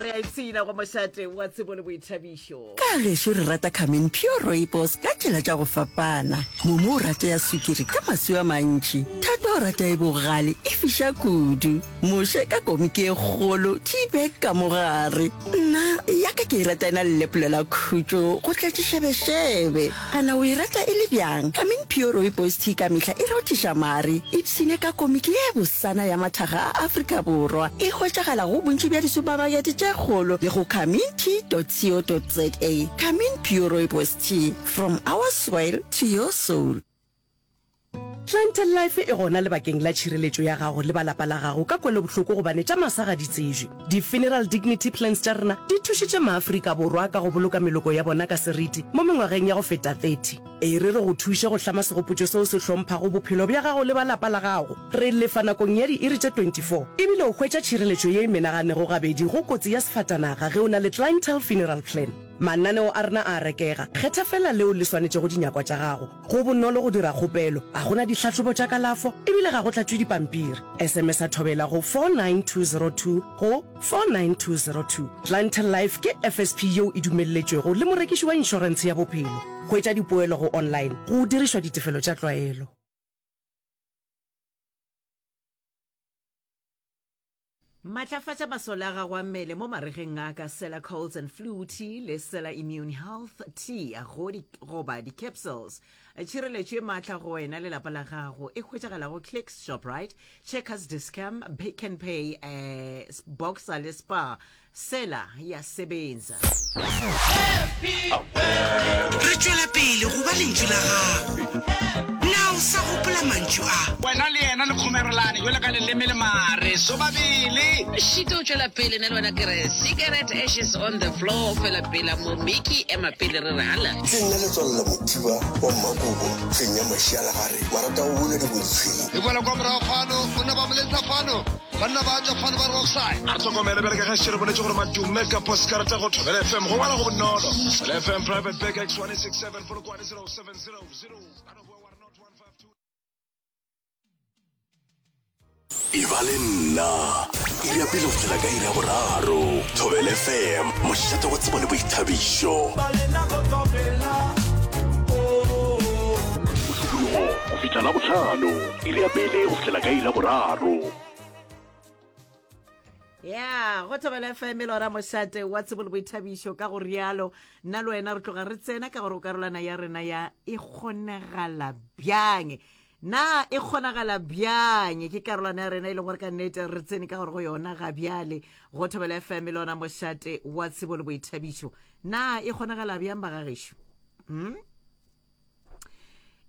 Re a ipshina go mošate wa tsebo le boithabišo. Ka gešo re rata Carmen Pure Rooibos ka tsela tša go fapana. Momo o rata ya sukiri ka maswi a mantši. Thato o rata e bogale e fiša kudu. Moshe ka komiki e kgolo, tea bag ka mo gare. Nna ya ka ke e rata e na le lepolo la khutšo go tletše šebešebe. Ana o e rata e le bjang? Carmen Pure Rooibos Tea ka mehla e rothiša mare. Ipshine ka komiki ye bosana ya mathaga a Afrika Borwa. E hwetšagala go bontši bja disupamakete tše kgolo le go carmintea.co.za. Carmin Pure Rooibos Tea, from our soil to your soul. Clientele Life e gona lebakeng la tšhireletšo ya gago le ba lapa la gago ka kwelobohloko gobane tša masa ga di tsebje. Di-Funeral Dignity Plans tša rena di thušitše maAfrika Borwa ka go boloka meloko ya bona ka seriti mo mengwageng ya go feta 30. E re re go thuše go hlama segopotšo seo se hlomphago bophelo bja gago le ba lapa la gago. Re lefa nakong ya diiri tše 24 ebile o hwetša tšhireletšo ye e menaganego gabedi go kotsi ya sefatanaga ge o na le Clientele Funeral Plan. Mananeo a rena a a rekega, kgetha feela leo le swanetšego dinyakwa tša gago. Go bonolo go dira kgopelo, ga go na ditlhahlobo tša kalafo e bile ga go tlatšwe dipampiri. SMS-a Thobela go 49202 go 49202. Clientele Life ke FSP yeo e dumelletšwego le morekiši wa inšorentshe ya bophelo. Hwetša dipoelo go online go dirišwa ditefelo tša tlwaelo. Matlafatša masole a gago a mmele mo maregeng a ka Sela Colds and Flu Tea le Sela Immune Health Tea go di, goba di-capsules. Tšhireletšo e maatla go wena le lapa la gago e hwetšagala go Clicks, Shoprite, Checkers, Dis-Chem, Pick n Pay, eh, Boxer le Spar. Sela ya sebenza. Re tšwela pele go ba lentšu la gago. Na o sa gopola mantšu a? Wena le yena le kgomerelane jwalo ka leleme le mare sobabele. Šito o tšwela pele, nna le wena ke re cigarette ashes on the floor, fela pela mo Mickey ema pele re re hala. Ke nna Letswalo la Mothiba wa Mmakobo, hleng ya Mašialagare, marata go buna diboditshweng. E boela kwa morago fano, o na ba moletsa fano. Banna ba tšwa fano ba re offside. A re hlokomele bjale ka ge šetše re boletše gore madume ka poskarata go Thobela FM go ngwala go bonolo. Thobela FM Private Bag X1867 Polokwane 0700. Ka no boa wa re not 152. E ba le nna iri ya pele go fihlela ka iri ya boraro. Thobela FM, mošate wa tsebo le boithabišo. Mosupologo go fihla Labohlano, iri ya pele go fihlela ka iri ya boraro. Ya, go Thobela FM e lora mošate wa tsebo le boithabišo ka go rialo. Nna le wena re tloga re tsena ka gore o karolwana ya rena ya e kgonagala bjang. Na e kgonagala bjang? Ke karolwana ya rena e leng gore ka nnete re tsene ka gore go yona ga bjale. Go Thobela FM e lona mošate wa tsebo le boithabišo. Na e kgonagala bjang bagagešo? Hmm?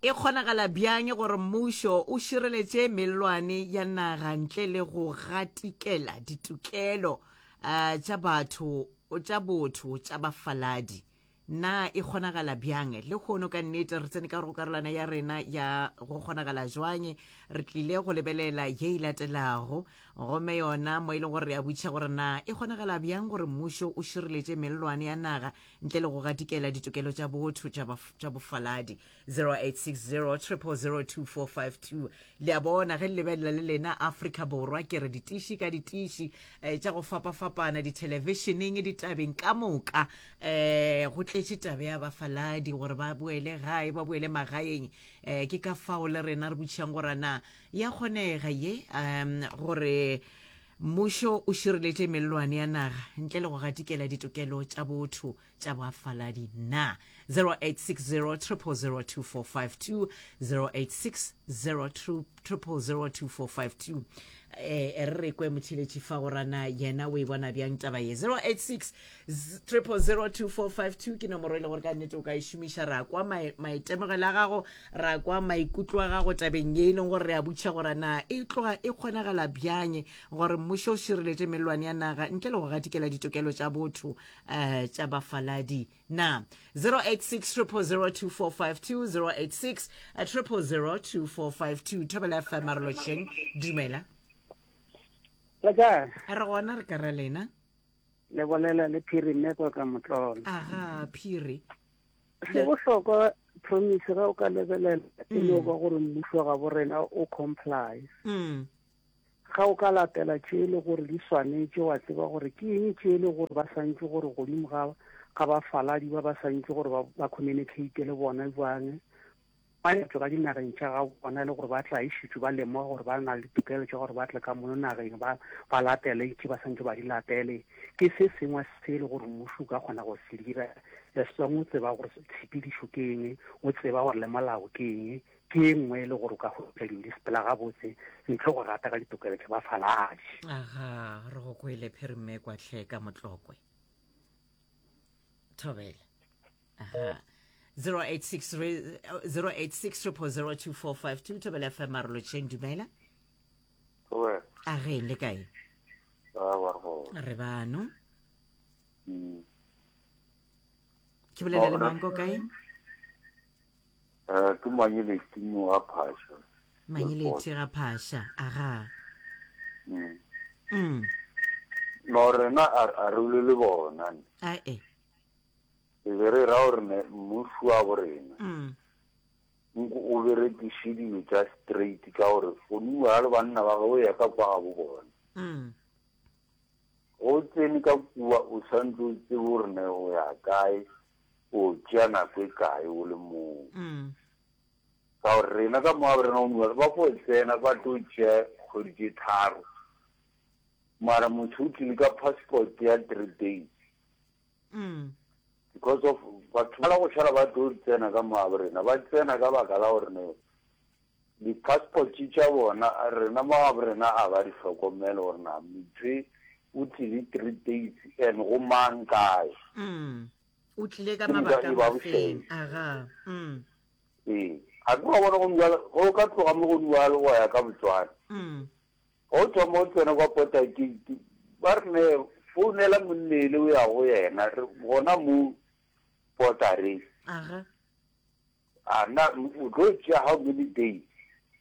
E kgonagala bjang gore mmušo o šireletše mellwane ya naga ntle le go gatikela ditokelo uh, tša batho tša botho tša bafaladi? Na e kgonagala bjang? Lehono ka nnete re tsene ka go karolwana ya rena ya go kgonagala jwang. Re tlile go lebelela ye e latelago gomme yona mo e leng gore re a botšiša gore na e kgonagala bjang gore mmušo o šireletše mellwane ya naga ntle le go gatikela ditokelo tša botho tša bofaladi. 0860 000 2452. Le a bona ge le lebelela le lena Afrika Borwa, ke re ditiši ka ditiši eh, tša go fapafapana dithelebišeneng, ditabeng ka moka eh, go tletše tabe ya bafaladi gore ba boele gae, ba boele magaeng. Eh, ke ka fao le rena re botšišang gore na ya kgonega ye um gore Mmušo o šireletše mellwane ya naga ntle le go gatikela ditokelo tša botho tša bafaladi na? 0860 000 2452 0860 000 2452 eh re re kwe motheletši fa go rana yena o e bona bjang taba ye 086 000 2452 ke nomoro e le gore ka nnete o ka e šomiša ra kwa maitemogelo a gago Ra kwa maikutlo a gago tabeng ye e leng gore re a botšiša gore na e tloga e kgonagala bjang gore mmušo o šireletše mellwane ya naga ntle le go gatikela ditokelo tša botho um tša bafaladi na. 086 0002452 086 0002452 Thobela FM a re lotšheng. Dumela. Le kae? Re gona re ka ra lena. Le bolela le Phiri mme kwa ka Motlolo. Aga Phiri. Se bohlokwa promise ge o ka lebelela e no ba gore mmušo ga bo rena o comply. Ga o ka latela tše e le gore di swanetše, wa tseba gore ke eng tše e le gore ba santše gore godimo ga ga bafaladi ba ba santše gore ba, ba communicate le bona bjang, ba tšwa ka dinageng tša ga bona e le gore ba tla e šetše ba lemoga gore ba na le ditokelo tša gore ba tle ka mono nageng ba, ba latele tše ba santše ba di latele. Ke se sengwe se e le gore mmušo o ka kgona go se dira as long o tseba gore tshepedišo ke eng, o tseba gore le molao ke eng, Ke e nngwe e le gore o ka hwetša dilo di sepela gabotse ntle go rata ka ditokelo tša bafaladi. Aga, re go kwele Phirimme kwa hle ka Motlokwe. Thobela. Aha. 086 086 0002452 Thobela FM Marolotšheng dumela. Thobela. A ge le kae? Re bano. Mm. Ke bolela le mang ko kae? Eh, ke Manyeleti mo ga Phasha. Manyeleti ga Phasha, aga. Mm. Mm. No rena a re le le bona. A e. E be re ra gore ne mmušo wa bo rena. Mm. Nko o berekiše dilo tša straight ka gore foniwa le banna ba gagwe ya ka kwa ga bo bona. Mm. Go tsene ka kua o santse o tsebe gore ne o ya kae, o tšea nako e kae o le moo. Ka gore rena ka moab rena o ba fo tsena ba tlo tšea kgwedi tše tharo, mara motho o tlile ka passport ya three days. Because of batho ba la go šala ba tlo tsena ka moab rena, ba tsena ka baka la gore ne Di-passport tša bona, rena mo gabo rena a ba di hlokomele gore na motho e o tlile three days and go mang kae. Mm. O tlile ka Ke moka mabaka e ba mafeng. bošaedi. Aga. Mm. Ee. A ke wa bona go bjalo, ge o ka tloga mo go bjalo wa ya ka Botswana. Mm. Ge o thoma o tsena kwa Porter Gate, ba re ne founela monnele o ya go yena, re gona mo Porter-eng. Aga. A na o tlo tšea how many days?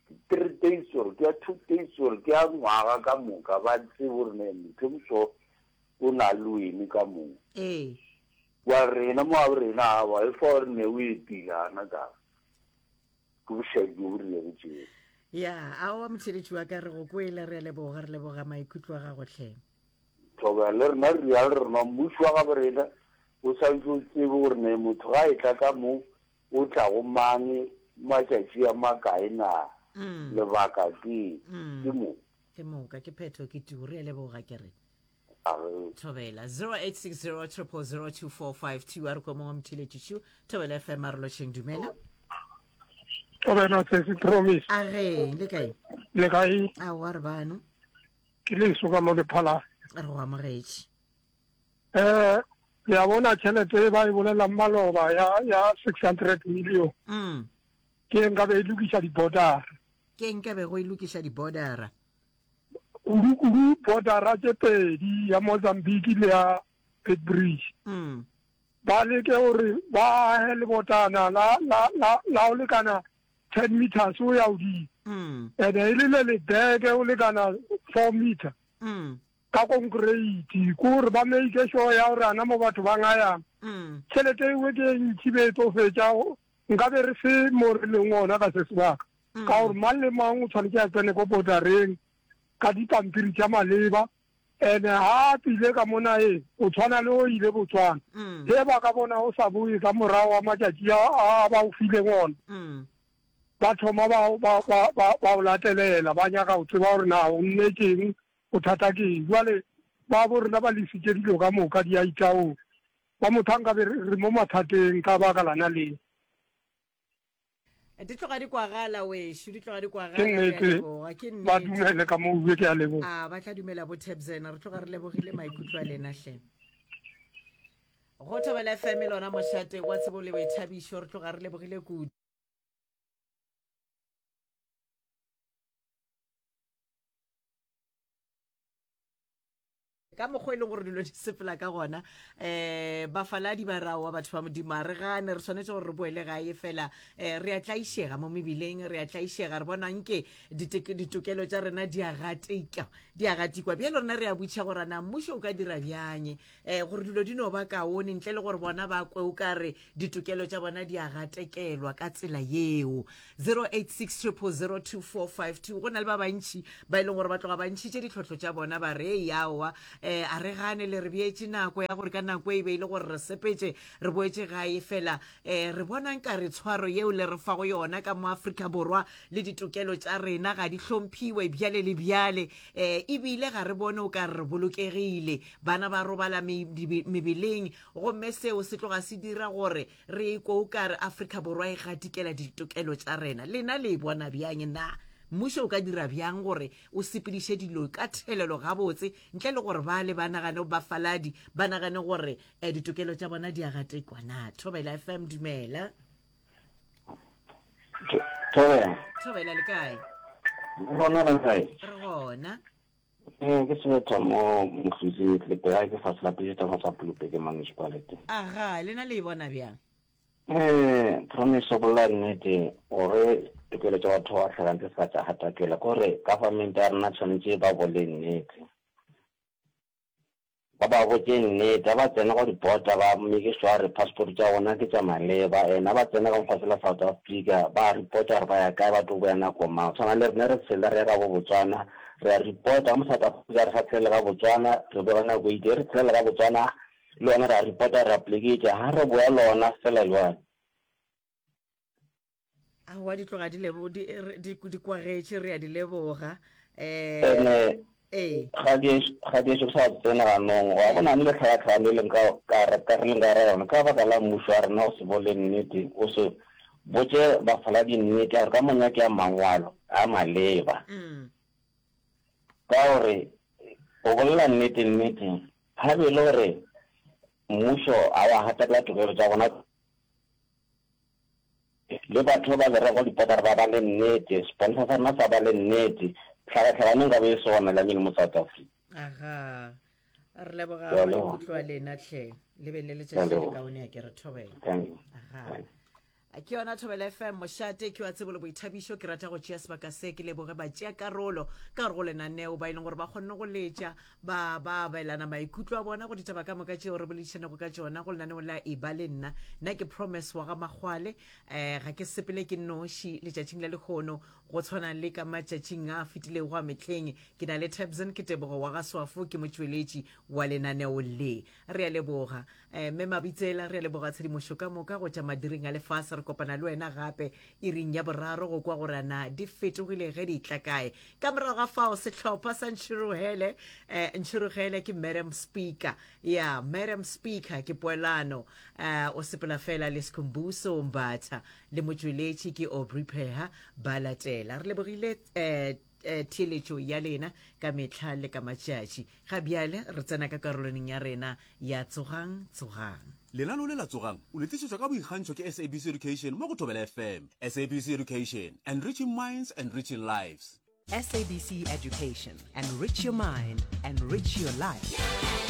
Ke three days or ke ya two days or ke ya ngwaga ka moka ba tsebe gore ne motho moso o na le wene ka moo. Ee. Wa rena mo a rena awa e fa gore ne o etile ana ka ke bošadi bjo bo rilego tšeo. Ya, aowa motheletši wa ka re go kwele re a leboga re leboga maikutlo a gago hle. Thobela le rena re rialo re rena mmušo wa gabo rena o santse o tsebe gore ne motho ga e tla ka mo o tla go mang matšatši a makae na lebaka ke ke mo. Ke moka ke phetho ke tu re a leboga ke re. A re. Thobela 0860 000 2452 a re kwa mongwe motheletši šu Thobela FM a re lotšheng dumela. Thobela sesi Promise. A re le kae? Le kae? Aowa re bano. Ke leso ka mo Lephalale. Re go amogetše. Eh, le a bona tšhelete e ba e bolelang maloba ya ya 600 million. Mm. Ke e nka be e lokiša di-bordera. Ke nka be go e lokiša di-bordera. Kudu-kudu bordera tše pedi ya Mozambique le ya Beitbridge. Mm. Ba leke gore ba age lebotana la la la la go lekana 10 meters o ya godimo. Mm. Ene e le le lebeke o lekana 4 meter. Mm. Ka konkreiti, ke gore ba make sure ya gore ana mo batho ba ngayang. Mm. Tšhelete ewe ke e ntši be e tlo fetša, nka be re se mo re leng gona ka se sebaka. Ka gore mang le mang o tshwanetse a tsene ko bordereng ka dipampiri tša maleba. Ene ha a tlile ka mo nageng, o tshwana le o ile Botswana. Ge ba ka bona o sa boe ka morago ga matšatši a a ba o fileng ona, ba thoma ba, ba, ba, ba, ba o latelela, ba nyaka go tseba gore na o nnetšeng, bothata ke eng. Jwale ba bo rena ba lesitše dilo ka moka di a itaola. Ba motho a nkabe re, re mo mathateng ka baka lana le. Di tloga di kwagala wešo, di tloga di kwagala. Ke Re a nnete, leboga, ke ba nnete. dumele ka mo bue, ke a leboga. A ba tla dumela bo Tebzena, re tloga re lebogile maikutlo a lena hle. Go Thobela FM lona mošate wa tsebo le boithabišo, re tloga re lebogile kudu. Ka mokgwa e leng gore dilo di sepela ka gona, um bafaladi ba raowa batho ba Modimo, a re gane, re swanetše gore re boele gae fela. Um re a tlaišega mo mebileng, re a tlaišega, re bona nke ditokelo tša rena di a gatika, di a gatikwa. Bjalo rena re a botšiša gore na mmušo o ka dira bjang um gore dilo di no ba kaone ntle le gore bona ba kwe o ka re ditokelo tša bona di a gatekelwa ka tsela yeo. 086 0002452 Go na le ba bantši ba e leng gore ba tloga ba ntšhitše ditlhohlo tša bona ba re ei aowa um a re gane le re beetše nako ya gore ka nako e be e le gore re sepetše re boetše gae fela um re bona nka re tshwaro yeo le re fago yona ka mo Afrika Borwa le ditokelo tša rena ga di hlomphiwe bjale le bjale um ebile ga re bone o ka re re bolokegile bana ba robala mebeleng gomme seo se tloga se dira gore re ikwe o ka re Afrika Borwa e gatikela ditokelo tša rena. Lena le e bona bjang? Na mmušo o ka dira bjang gore o sepediše dilo ka thelelo gabotse ntle le gore bale ba nagane, bafaladi ba nagane gore eh, ditokelo tša bona di a gatekwa? Na Thobela FM, dumela. Thobela. Thobela le kae? Gona re kae? Re gona. Ee, ke sebetha mo Mofisi Tlepe, ke fa selapiše tsa sa Pulupe ke municipality. Aga, lena le e bona bjang? Eh, promise go bolela nnete gore tokelo tša batho ba hlakantse se ka tša gatakela kore government ya rena tshwanetse ba bole nnete. Ba ba botše nnete, ga ba tsena go di-border ba make sure gore passport tša bona ke tša maleba and ga ba tsena ka mo fase la South Africa ba reporta gore ba ya kae ba tlo boya nako mang. Tshwana le rena re tshela re ya ka bo Botswana re a reporta ka mo South Africa re sa tshelele ka Botswana re boya ka nako e itse, ge re tshelela ka Botswana le yona re a reporta re a poleke e itse ga re boya lona fela jwalo. Aowa di tloga di lebo di di di kwagetše re a di leboga. Eh Ene ee. ga di ga di ešo sa tsena ganong wa bona le tlhakatlhakano e leng ka ka ka re leng ka ra yona ka baka la mmušo wa rena o se bole nnete o se botše bafaladi nnete ya gore ka monyake ya mangwalo a maleba Mm. ka gore o bolela nnete nnete ga be e le gore mmušo a wa gatakela tokelo tša bona Le batho ba le rego dipotara ba ba le nnete, seponsa sa rena sa ba le nnete, tlhakatlhakano nka be e se gona lamile mo South Africa. Aga, re leboga Ke a leboga. maikutlo a lena hle. Le be le Ke a letšatši le leboga. kaone a ke re thobela. Thank you. Aga. Ke yona Thobela FM mošate ke wa tsebo le boithabišo. Ke rata go tšea sebaka se ke leboge batšeakarolo ka gare go lenaneo ba e leng gore ba kgonne go letša ba ba abelana maikutlo a bona go ditaba ka moka tšeo re boledišanego ka tšona go lenaneo la Eba le Nna. Nna ke Promise wa ga Makgwale. Um ga ke sepele ke noši letšatšing la lehono go tshwana le ka matšatšing a fetilego a mehleng. Ke na le Tabson ke Tebogo wa ga Swafo ke motšweletši wa lenaneo le. Re a leboga. Um Mme Mabitsela re a leboga tshedimošo ka moka go tša madiring a lefase. Re kopana le wena gape iring ya boraro go kwa gore na di fetogile ge di tla kae. Ka morago ga fao sehlopha sa Ntšhirogele, eh, Ntšhirogele ke Madam Speaker. Ya, Madam Speaker ke poelano. Eh, o sepela fela le Skhumbuso Mbatha le motšweletši ke Aubrey Pheha ba latela. Re lebogile eh, eh, theeletšo ya lena ka mehla le ka matšatši. Ga bjale re tsena ka karolwaneng ya rena ya Tsogang, Tsogang. Lenaneo le la Tsogang o le tlišetšwa ka boikgantšho ke SABC Education mo go Thobela FM. SABC Education, enriching minds, enriching lives. SABC Education, enrich your mind, enrich your life.